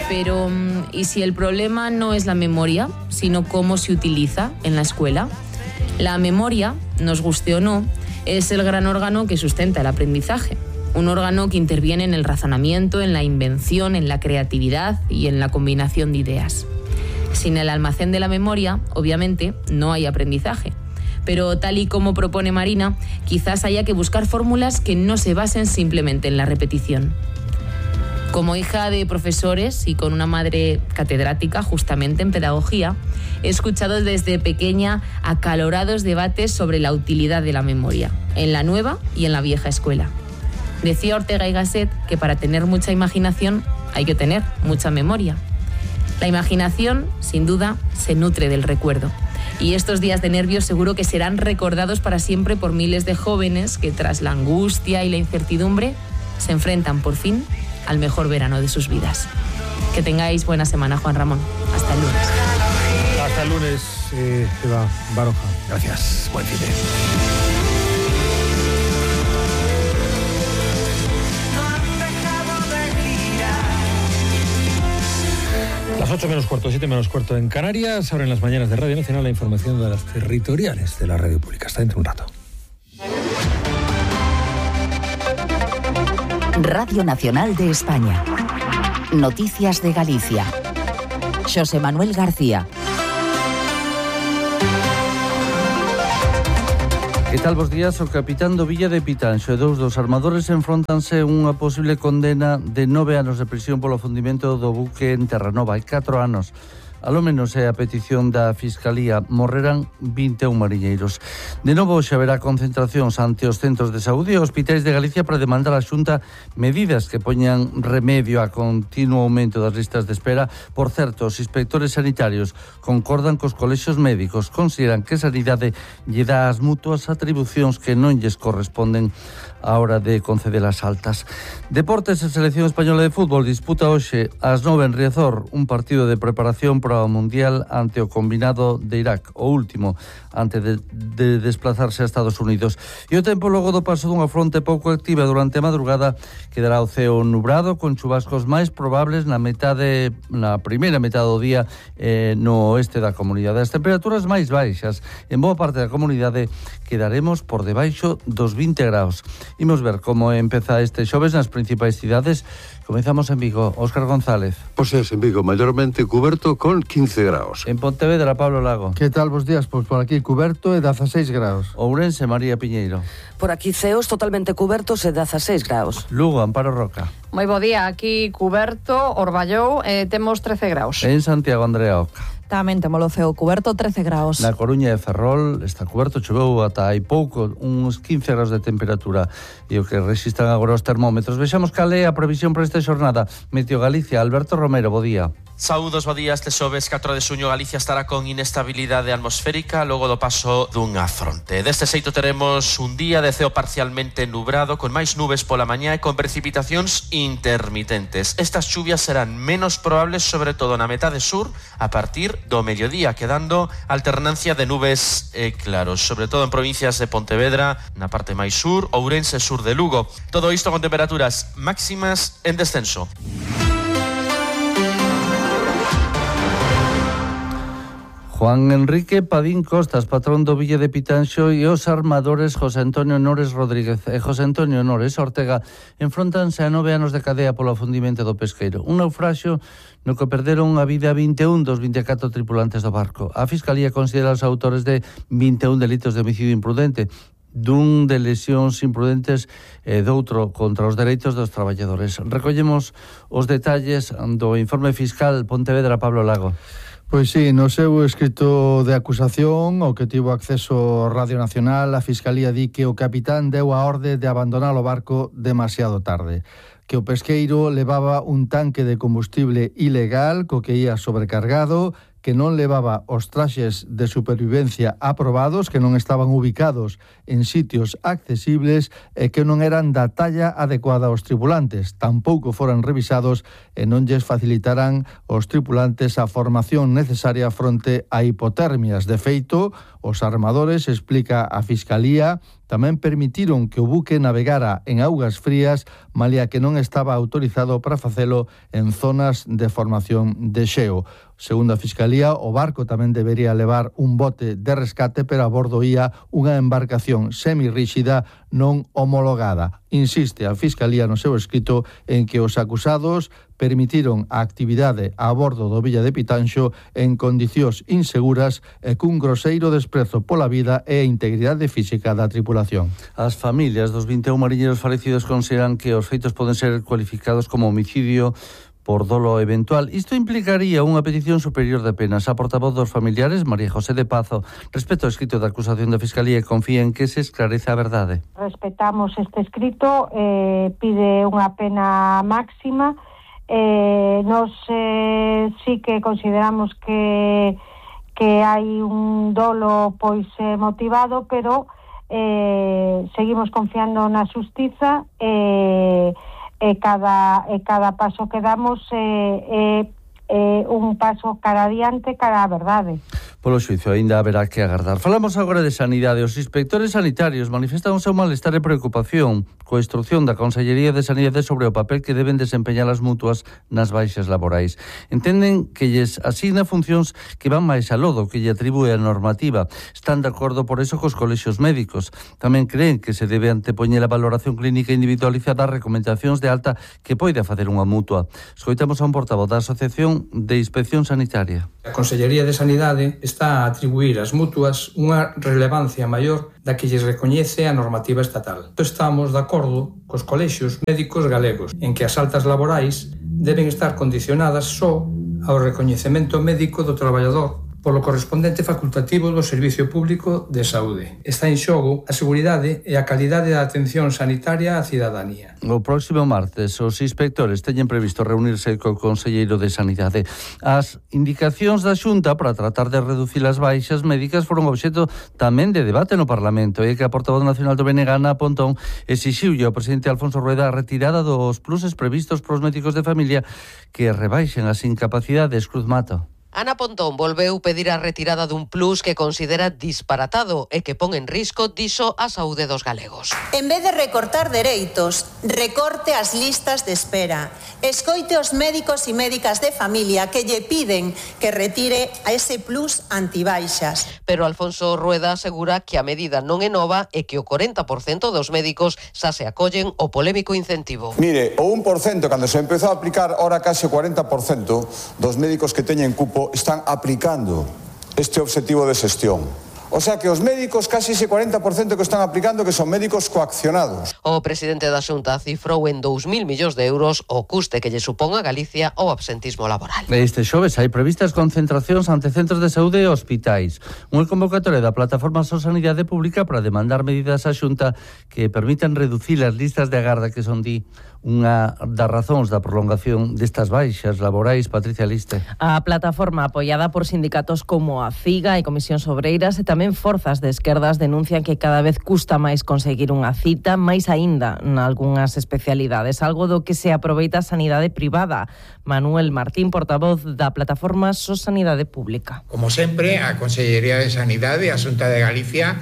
Pero, ¿y si el problema no es la memoria, sino cómo se utiliza en la escuela? La memoria, nos guste o no, es el gran órgano que sustenta el aprendizaje. Un órgano que interviene en el razonamiento, en la invención, en la creatividad y en la combinación de ideas. Sin el almacén de la memoria, obviamente, no hay aprendizaje. Pero tal y como propone Marina, quizás haya que buscar fórmulas que no se basen simplemente en la repetición. Como hija de profesores y con una madre catedrática justamente en pedagogía, he escuchado desde pequeña acalorados debates sobre la utilidad de la memoria, en la nueva y en la vieja escuela. Decía Ortega y Gasset que para tener mucha imaginación hay que tener mucha memoria. La imaginación, sin duda, se nutre del recuerdo. Y estos días de nervios seguro que serán recordados para siempre por miles de jóvenes que tras la angustia y la incertidumbre se enfrentan por fin al mejor verano de sus vidas. Que tengáis buena semana, Juan Ramón. Hasta el lunes. Hasta el lunes, Eva Baroja. Gracias. Buen fin de semana. Las 8 menos cuarto, 7 menos cuarto en Canarias. Ahora en las mañanas de Radio Nacional la información de las territoriales de la radio pública. Hasta dentro de un rato. Radio Nacional de España. Noticias de Galicia. Xosé Manuel García. Que tal, bos días? O capitán do Villa de Pitanxo e dous dos armadores enfrontanse unha posible condena de 9 anos de prisión polo afundimento do buque en Terranova. Hai 4 anos. Alo menos é a petición da Fiscalía. Morrerán 21 mariñeiros. De novo xa haberá concentracións ante os centros de saúde e hospitais de Galicia para demandar a Xunta medidas que poñan remedio a continuo aumento das listas de espera. Por certo, os inspectores sanitarios concordan cos colexios médicos. Consideran que Sanidade lle dá ás mutuas atribucións que non lles corresponden á hora de conceder as altas. Deportes e Selección Española de Fútbol disputa hoxe ás 9 en Riazor un partido de preparación para o Mundial ante o combinado de Irak, o último antes de desplazarse a Estados Unidos. E o tempo logo do paso dunha fronte pouco activa durante a madrugada quedará o ceo nubrado con chubascos máis probables na primeira metade do día no oeste da comunidade. As temperaturas máis baixas en boa parte da comunidade quedaremos por debaixo dos 20 graus. Imos ver como empeza este xoves nas principais cidades. Comezamos en Vigo. Óscar González. Pois é, en Vigo, maiormente cuberto con 15 graus. En Pontevedra, Pablo Lago. Que tal, bos días? Pois por aquí cuberto e 16 graus. Ourense, María Piñeiro. Por aquí ceos totalmente cubertos e 16 graus. Lugo, Amparo Roca. Moi bo día, aquí cuberto, Orballou, temos 13 graus. En Santiago, Andrea Oca. Tamén temos o ceo cuberto, 13 graus. Na Coruña e Ferrol está cuberto, choveu ata hai pouco, uns 15 graus de temperatura e o que registran agora os termómetros. Vexamos cal é a previsión para esta xornada. Meteo Galicia, Alberto Romero, bo día. Saúdos, bo día. Este xoves 4 de xuño Galicia estará con inestabilidade atmosférica logo do paso dunha fronte. Deste xeito teremos un día de ceo parcialmente nubrado con máis nubes pola mañá e con precipitacións intermitentes. Estas chuvias serán menos probables sobre todo na metade sur a partir do mediodía, quedando alternancia de nubes e claros, sobre todo en provincias de Pontevedra, na parte máis sur, Ourense, sur de Lugo. Todo isto con temperaturas máximas en descenso. Juan Enrique Padín Costas, patrón do Villa de Pitanxo, e os armadores José Antonio Nores Rodríguez e José Antonio Nores Ortega enfrontanse a 9 anos de cadea polo afundimento do pesqueiro. Un naufraxio no que perderon a vida 21 dos 24 tripulantes do barco. A Fiscalía considera os autores de 21 delitos de homicidio imprudente, dun de lesións imprudentes e doutro contra os dereitos dos traballadores. Recollemos os detalles do informe fiscal Pontevedra, Pablo Lago. Pois sí, no seu escrito de acusación, ao que tivo acceso Radio Nacional, a Fiscalía di que o capitán deu a orde de abandonar o barco demasiado tarde, que o pesqueiro levaba un tanque de combustible ilegal co que ia sobrecargado, que non levaba os traxes de supervivencia aprobados, que non estaban ubicados en sitios accesibles e que non eran da talla adecuada aos tripulantes. Tampouco foran revisados e non lles facilitaran aos tripulantes a formación necesaria fronte a hipotermias. De feito, os armadores, explica a Fiscalía, Tamén permitiron que o buque navegara en augas frías, malia que non estaba autorizado para facelo en zonas de formación de xeo. Segundo a Fiscalía, o barco tamén debería levar un bote de rescate, pero a bordo ía unha embarcación semirríxida non homologada. Insiste a Fiscalía no seu escrito en que os acusados permitiron a actividade a bordo do Villa de Pitanxo en condicións inseguras e cun groseiro desprezo pola vida e a integridade física da tripulación. As familias dos 21 mariñeiros falecidos consideran que os feitos poden ser cualificados como homicidio por dolo eventual. Isto implicaría unha petición superior de penas. A portavoz dos familiares, María José de Pazo, respecto ao escrito da acusación da Fiscalía, confía en que se esclarece a verdade. Respetamos este escrito, pide unha pena máxima. Nos sí que consideramos que hai un dolo pois motivado, pero seguimos confiando na xustiza e cada paso que damos un paso cara adiante, cara á verdade. Polo xuizo aínda haberá que agardar. Falamos agora de sanidade. Os inspectores sanitarios manifestan o seu malestar e preocupación coa instrucción da Consellería de Sanidade sobre o papel que deben desempeñar as mutuas nas baixas laborais. Entenden que lles asigna funcións que van máis aló do que lle atribúe a normativa. Están de acordo por eso cos colexios médicos. Tamén creen que se debe antepoñer a valoración clínica individualizada ás recomendacións de alta que poida facer unha mutua. Escoitamos a un portavoz da Asociación de Inspección Sanitaria. A Consellería de Sanidade está a atribuir ás mutuas unha relevancia maior da que lles recoñece a normativa estatal. Estamos de acordo cos colexios médicos galegos en que as altas laborais deben estar condicionadas só ao recoñecemento médico do traballador polo correspondente facultativo do Servicio Público de Saúde. Está en xogo a seguridade e a calidade da atención sanitaria á cidadanía. O próximo martes, os inspectores teñen previsto reunirse co Conselleiro de Sanidade. As indicacións da Xunta para tratar de reducir as baixas médicas foron obxecto tamén de debate no Parlamento, e que a portavoz nacional do BNG, Ana Pontón, exixiulle ao presidente Alfonso Rueda a retirada dos pluses previstos pros médicos de familia que rebaixen as incapacidades. Cruz Mato. Ana Pontón volveu pedir a retirada dun plus que considera disparatado e que pon en risco, dixo, a saúde dos galegos. En vez de recortar dereitos, recorte as listas de espera. Escoite os médicos e médicas de familia que lle piden que retire a ese plus antibaixas. Pero Alfonso Rueda asegura que a medida non é nova e que o 40% dos médicos xa se acollen o polémico incentivo. Mire, o 1% cando se empezou a aplicar, ora case o 40% dos médicos que teñen cupo están aplicando este objetivo de xestión. O sea que os médicos, casi ese 40% que están aplicando, que son médicos coaccionados. O presidente da Xunta cifrou en 2.000 millóns de euros o custe que lle supón a Galicia o absentismo laboral. Este xoves hai previstas concentracións ante centros de saúde e hospitais. Unha convocatoria da plataforma So Sanidade Pública para demandar medidas á Xunta que permitan reducir as listas de agarda que son unha das razóns da prolongación destas baixas laborais. Patricia Liste. A plataforma, apoiada por sindicatos como a CIGA e Comisións Obreiras e tamén forzas de esquerdas, denuncian que cada vez custa máis conseguir unha cita, máis aínda nalgúnas especialidades, algo do que se aproveita a sanidade privada. Manuel Martín, portavoz da plataforma So Sanidade Pública. Como sempre, a Consellería de Sanidade e a Xunta de Galicia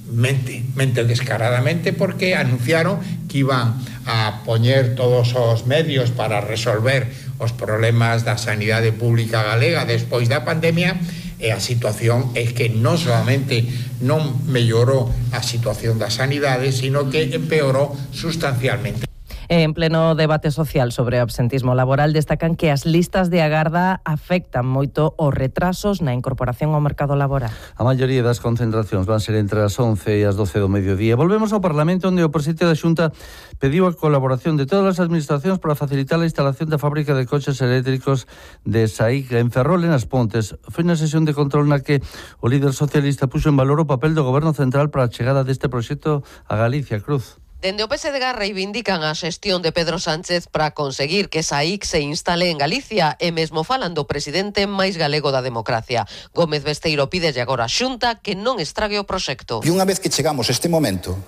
mente descaradamente, porque anunciaron que iban a poñer todos os medios para resolver os problemas da sanidade pública galega despois da pandemia, e a situación é que non solamente non mellorou a situación da sanidade, sino que empeorou sustancialmente. En pleno debate social sobre o absentismo laboral, destacan que as listas de agarda afectan moito os retrasos na incorporación ao mercado laboral. A maioría das concentracións van ser entre as 11 e as 12 do mediodía. Volvemos ao Parlamento, onde o presidente da Xunta pediu a colaboración de todas as administracións para facilitar a instalación da fábrica de coches eléctricos de SAIC en Ferrol, en As Pontes. Foi na sesión de control na que o líder socialista puxo en valor o papel do Goberno Central para a chegada deste proxecto a Galicia. Cruz. Dende o PSDG reivindican a xestión de Pedro Sánchez para conseguir que SAIC se instale en Galicia e mesmo falan do presidente máis galego da democracia. Gómez Besteiro pídelle agora a Xunta que non estrague o proxecto. E unha vez que chegamos a este momento,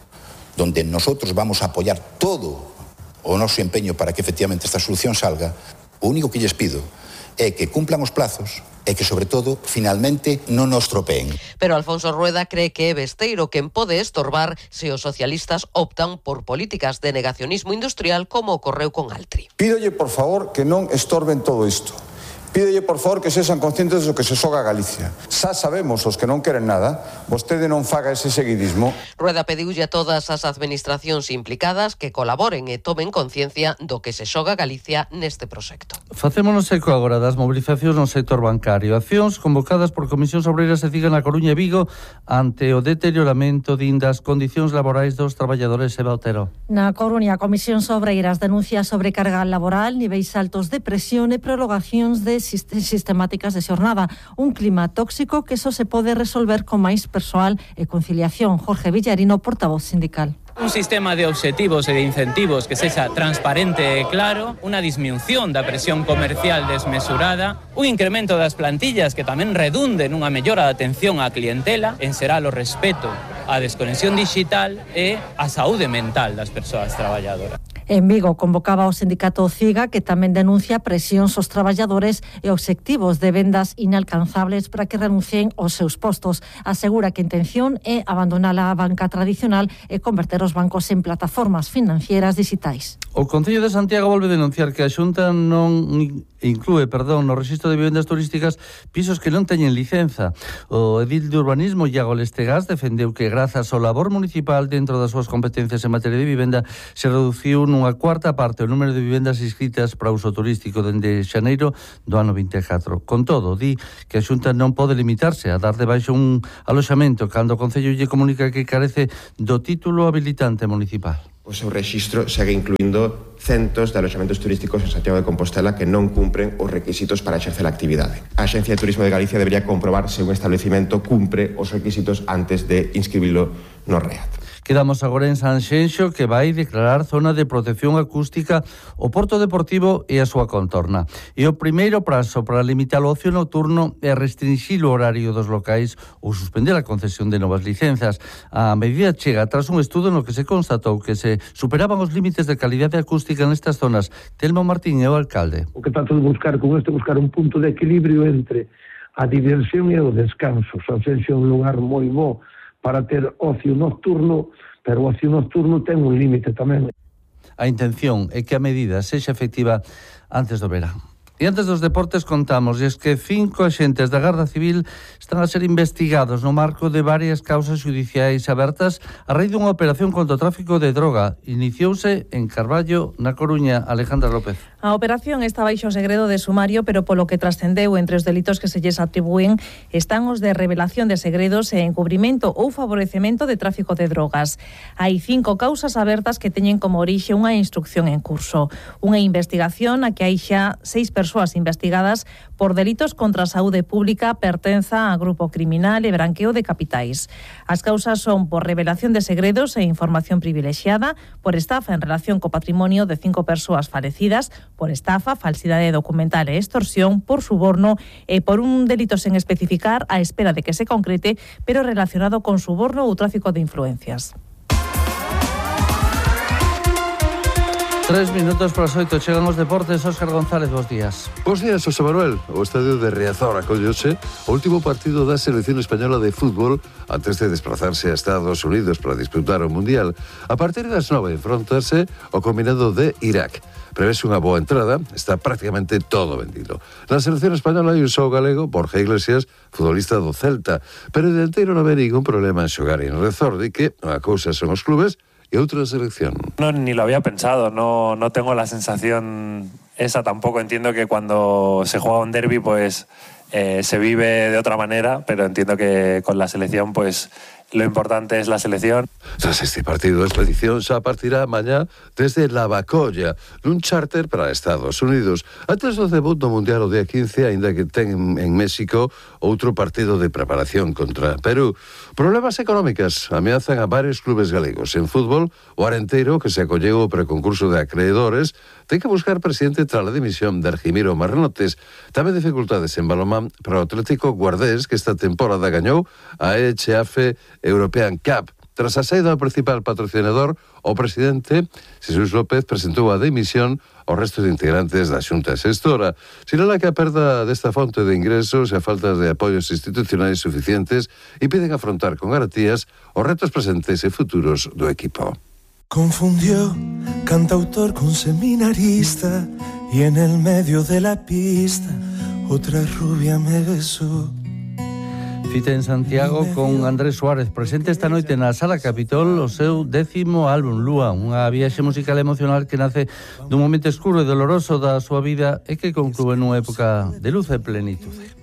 donde nosotros vamos a apoiar todo o noso empeño para que efectivamente esta solución salga, o único que lles pido é que cumplan os plazos e que, sobre todo, finalmente non nos tropeen. Pero Alfonso Rueda cree que é Besteiro quen pode estorbar se os socialistas optan por políticas de negacionismo industrial como ocorreu con Altri. Pídolle, por favor, que non estorben todo isto. Pídolle, por favor, que sexan conscientes do que se xoga a Galicia. Xa sabemos os que non queren nada, vostede non faga ese seguidismo. Rueda pediulle a todas as administracións implicadas que colaboren e tomen conciencia do que se xoga Galicia neste proxecto. Facémonos eco agora das mobilizacións no sector bancario. Accións convocadas por Comisións Obreiras e CIGA na Coruña e Vigo ante o deterioramento das condicións laborais dos traballadores. Eva Otero. Na Coruña, Comisións Obreiras denuncia sobrecarga laboral, niveis altos de presión e prolongacións de sistemáticas de xornada. Un clima tóxico que só se pode resolver con máis persoal e conciliación. Jorge Villarino, portavoz sindical. Un sistema de obxectivos e de incentivos que sexa transparente e claro, unha disminución da presión comercial desmesurada, un incremento das plantillas que tamén redunde nunha mellora da atención á clientela, en será o respeto á desconexión digital e á saúde mental das persoas traballadoras. En Vigo convocaba o sindicato CIGA, que tamén denuncia presións aos traballadores e obxectivos de vendas inalcanzables para que renuncien aos seus postos. Asegura que a intención é abandonar a banca tradicional e converter os bancos en plataformas financieras digitais. O Concello de Santiago volve denunciar que a Xunta non inclúe, no rexistro de vivendas turísticas pisos que non teñen licenza. O edil de urbanismo, Iago Lestegas, defendeu que grazas ao labor municipal dentro das súas competencias en materia de vivenda se reduciu nunha cuarta parte o número de vivendas inscritas para uso turístico dende xaneiro do ano 24. Con todo, di que a Xunta non pode limitarse a dar de baixo un aloxamento cando o Concello lle comunica que carece do título habilitante municipal. O seu rexistro segue incluindo centos de aloxamentos turísticos en Santiago de Compostela que non cumpren os requisitos para exercer a actividade. A Axencia de Turismo de Galicia debería comprobar se un establecimento cumpre os requisitos antes de inscribilo no REAT. Quedamos agora en Sanxenxo, que vai declarar zona de protección acústica o Porto Deportivo e a súa contorna. E o primeiro prazo para limitar o ocio nocturno é restringir o horario dos locais ou suspender a concesión de novas licenzas. A medida chega tras un estudo no que se constatou que se superaban os límites de calidade acústica nestas zonas. Telmo Martín é o alcalde. O que trato de buscar con isto é buscar un punto de equilibrio entre a diversión e o descanso. Sanxenxo é un lugar moi bo para ter ocio nocturno, pero o ocio nocturno ten un límite tamén. A intención é que a medida sexa efectiva antes do verán. E antes dos deportes contamos que 5 axentes da Garda Civil están a ser investigados no marco de varias causas judiciais abertas a raíz dunha operación contra o tráfico de droga. Iniciouse en Carballo, na Coruña. Alejandra López. A operación está baixo segredo de sumario, pero polo que trascendeu entre os delitos que se lles atribúen están os de revelación de segredos e encubrimento ou favorecemento de tráfico de drogas. Hai 5 causas abertas que teñen como orixe unha instrucción en curso. Unha investigación a que hai xa 6 persoas investigadas por delitos contra a saúde pública, pertenza a grupo criminal e branqueo de capitais. As causas son por revelación de segredos e información privilexiada, por estafa en relación co patrimonio de 5 persoas falecidas, por estafa, falsidade documental e extorsión, por suborno e por un delito sen especificar á espera de que se concrete, pero relacionado con suborno ou tráfico de influencias. 3 minutos para as 8, chegan os deportes. Óscar González, bons días. Bons días, José Manuel. O estadio de Riazor acollose o último partido da selección española de fútbol antes de desplazarse a Estados Unidos para disputar o Mundial. A partir das 9 enfrontarse o combinado de Irak. Prevese unha boa entrada, está prácticamente todo vendido. Na selección española hai un só galego, Borja Iglesias, futbolista do Celta, pero o dianteiro non ve ningún problema en xogar en Riazor, de que unha cousa son os clubes y otra selección. No, ni lo había pensado, no tengo la sensación esa tampoco. Entiendo que cuando se juega un derbi pues se vive de otra manera, pero entiendo que con la selección pues lo importante es la selección. Tras este partido, a expedición xa partirá mañá desde Lavacolla, nun charter para Estados Unidos. Antes do debut do Mundial o día 15, aínda que ten en México outro partido de preparación contra Perú. Problemas económicas ameazan a varios clubes galegos. En fútbol, o Arenteiro, que se acolleu ao preconcurso de acreedores, ten que buscar presidente tras a dimisión de Argimiro Marnotes. Tamén dificultades en balonmán para o Atlético Guardés, que esta temporada gañou a EHF European Cup. Tras a saída do principal patrocinador, o presidente Xesús López presentou a dimisión aos restos de integrantes da Xunta Xestora. Sinala que a perda desta fonte de ingresos e a falta de apoios institucionais suficientes impiden afrontar con garantías os retos presentes e futuros do equipo. Confundió cantautor con seminarista y en el medio de la pista otra rubia me besó. Cita en Santiago con Andrés Suárez, presente esta noite na Sala Capitol o seu 10º álbum, Lúa, unha viaxe musical emocional que nace dun momento escuro e doloroso da súa vida e que conclúe nunha época de luz e plenitude.